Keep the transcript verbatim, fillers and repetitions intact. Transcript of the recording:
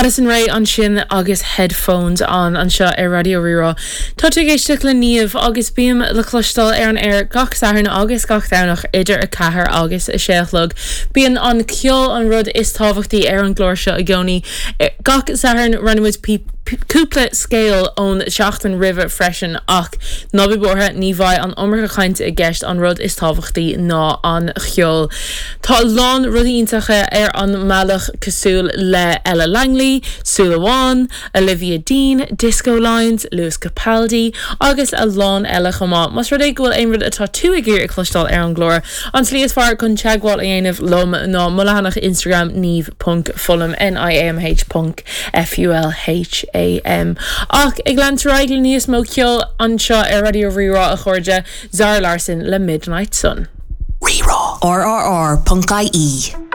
Addison Rae ansin agus headphones an anseo ar Raidió Rí-Rá. Tá tú ag éisteacht le Niamh agus bím le cloisteáil ar an aer gach Satharn agus gach Domhnach idir a ceathair agus a sé a chlog. Bíonn an ceol an rud is tábhachtaí ar an gclár seo i gcónaí. Gach Satharn roinnimid cúpla scéal ón seachtain roimhe freisin ach ná bí buartha ní bheidh an iomarca cainte i gceist an rud is tábhachtaí ná an ceol. Tá lán rudaí iontacha ar an mbealach cosúil le Ella Langley, Súil Amháin, Olivia Dean, Disco Lines, Lewis Capaldi agus a lán eile chomh maith. Más rud é go bhfuil aon rud atá tú ag iarraidh a chloisteáil ar an gclár. An tslí is fearr chun teagmháil a dhéanamh liom ná mo leathanach Instagram niamh.fulham NIAMH ponc FULHAM. Ach ag leanúint le níos mó ceol anseo ar Raidió Rí-Rá a chairde Zara Larsson le Midnight Sun. Rí-Rá. RRR.ie